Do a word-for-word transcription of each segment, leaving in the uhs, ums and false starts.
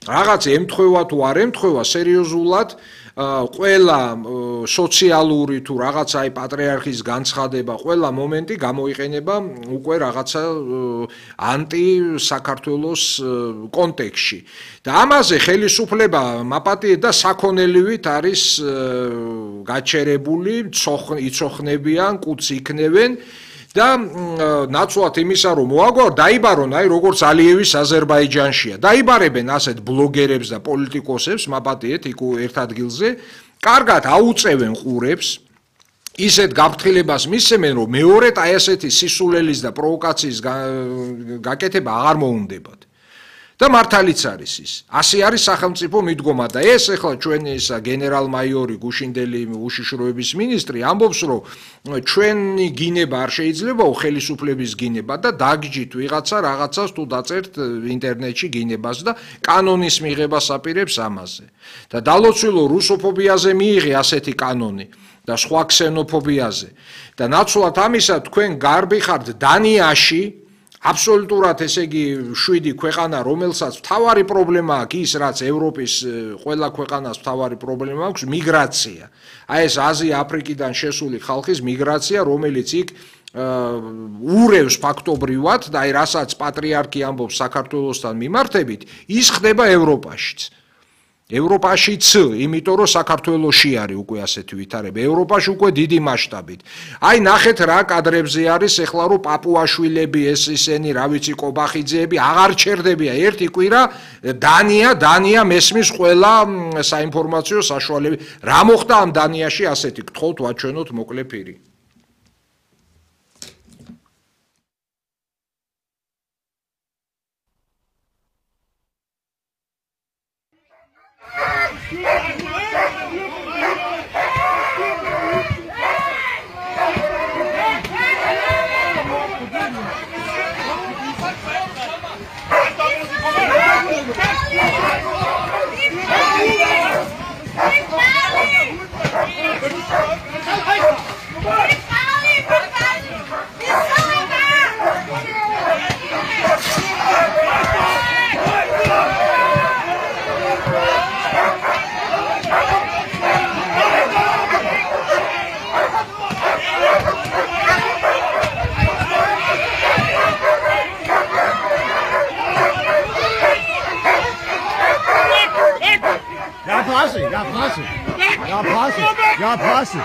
რაღაც ემთხვევა თუ არ ემთხვევა სერიოზულად ყველა სოციალური თუ რაღაცა აი პატრიარქის განცხადება, ყველა მომენტი გამოიყენება უკვე რაღაცა ანტი საქართველოს კონტექსტში. და ამაზე ხელისუფლება მაპატიეთ და საქონელივით არის გაჩერებული, იცოხნებიან, კუც იქნევენ. და ნაცვლად იმისა რომ მოაგვარ დაიბარონ აი როგორც ალიევის აზერბაიჯანშია დაიბარებენ ასეთ ბლოგერებს და პოლიტიკოსებს მაპატიეთ იქ ერთ ადგილზე კარგად აუწევენ ყურებს ისეთ გაფრთხილებას მისცემენ რომ მეორედ აი ასეთი სისულელის და პროვოკაციის გაკეთება აღარ მოუნდებათ და მართალიც არის ის ასე არის სახელმწიფო მიდგომა და ეს ახლა ჩვენი ისა გენერალ-მაიორი გუშინდელი უშიშროების მინისტრი ამბობს რომ ჩვენი გინება არ შეიძლებაო ხელისუფლების გინება და დაგჯით ვიღაცა რაღაცას თუ დაწერთ ინტერნეტში გინებას და კანონის მიღებას აპირებს ამაზე და დალოცვილო რუსოფობიაზე მიიღე ასეთი კანონი და სხვა ქსენოფობიაზე და ნაცვლად ამისა თქვენ გარბი ხართ დანიაში აბსოლუტურად ესე იგი შვიდი ქვეყანა რომელსაც მთავარი პრობლემა აქვს ის რაც ევროპის ყველა ქვეყანას მთავარი პრობლემა აქვს მიგრაცია აი ეს აზია აფრიკიდან შესული ხალხის მიგრაცია რომელიც იქ ურევს ფაქტობრივად და აი რასაც პატრიარქი ამბობს საქართველოსთან მიმართებით ის ხდება ევროპაშიც ევროპაშიც, იმიტომ რომ საქართველოში არის უკვე ასეთი ვითარება, ევროპაში უკვე დიდი მასშტაბით. აი ნახეთ რა კადრებზე არის ეხლა რომ პაპუაშვილები ეს ისენი, რა ვიცი, კობახიძეები აღარ ჩერდებია ერთი კვირა დანია, დანია მესმის ყველა საინფორმაციო საშუალები. რა მოხდა ამ დანიაში ასეთი გთხოვთ ვაჩვენოთ მოკლე პირი. Ja, passe. Ja, passe. Ja, passe.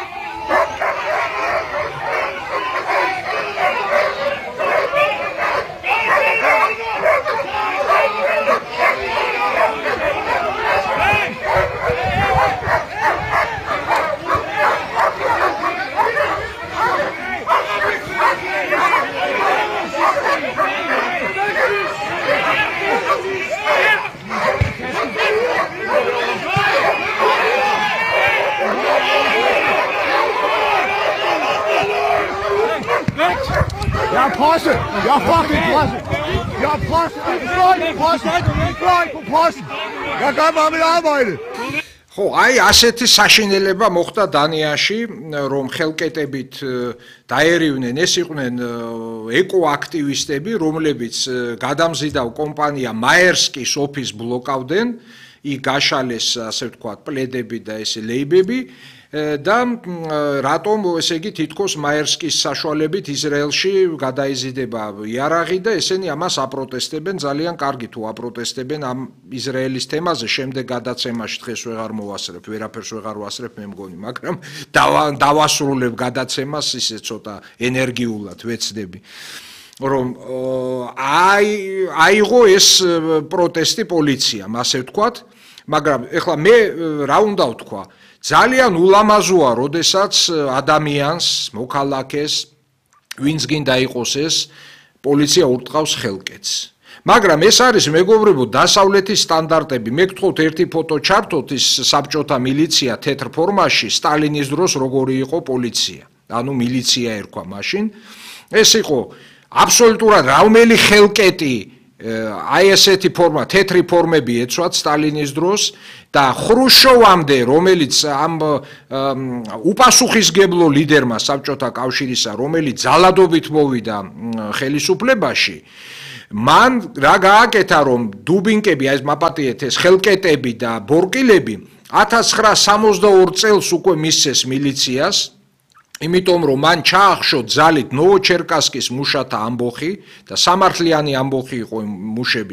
Ja, passe! Ja, fucking passe! Ja, passe! Nein, passe! Nein, passe! Ja, kann man mit arbeiten! ხო, აი ასეთი საშინელება მოხდა დანიაში, რომ ხელკეტებით დაერივნენ, ეს იყვნენ ეკოაქტივისტები, რომლებიც გადამზიდავ კომპანია მაერსკის ოფისს ბლოკავდნენ, იქ გაშალეს, ასე ვთქვათ, პლედები და ესე ლეიბები. და რატომ ესე იგი თითქოს მაერსკის საშუალებით ისრაელში გადაიზიდება იარაღი და ესენი ამას აპროტესტებენ ძალიან კარგი თუ აპროტესტებენ ამ ისრაელის თემაზე შემდეგ გადაცემაში დღეს ვეღარ მოვასწრებ ვერაფერს ვეღარ ვასწრებ მე მგონი მაგრამ დავასრულებ გადაცემას ისე ცოტა ენერგიულად ვეცდები რომ აი აიღო ეს პროტესტი პოლიციამ ასე ვთქვათ მაგრამ ეხლა მე რა უნდა ვთქვა ძალიან ულამაზოა, როდესაც ადამიანს, მოქალაქეს, ვინც გინდა იყოს ეს, პოლიცია ურტყავს ხელკეთს. მაგრამ ეს არის მეგობრებო დასავლეთის სტანდარტები. მე გთხოვთ ერთი ფოტო ჩართოთ ის საბჭოთა მილიცია თეთრ ფორმაში სტალინის დროს როგორი იყო პოლიცია. ანუ მილიცია ერქვა მაშინ. ეს იყო აბსოლუტურად რაუმელი ხელკეტი აი ესეთი ფორმა, თეთრი ფორმები ეცვათ სტალინის დროს და ხრუშოვამდე, რომელიც ამ უპასუხისგებლო ლიდერმა საბჭოთა კავშირისა, რომელიც ძალადობით მოვიდა ხელისუფლებაში, მან რა გააკეთა რომ დუბინკები აი ეს მაპატიეთ ეს ხელკეტები და ბორკილები ათას ცხრაას სამოცდაორ წელს უკვე მისცეს მილიციას იმიტომ რომ მან ჩაახშო ძალით ნოვოჩერკასკის მუშათა ამბოხი და სამართლიანი ამბოხი იყო მუშები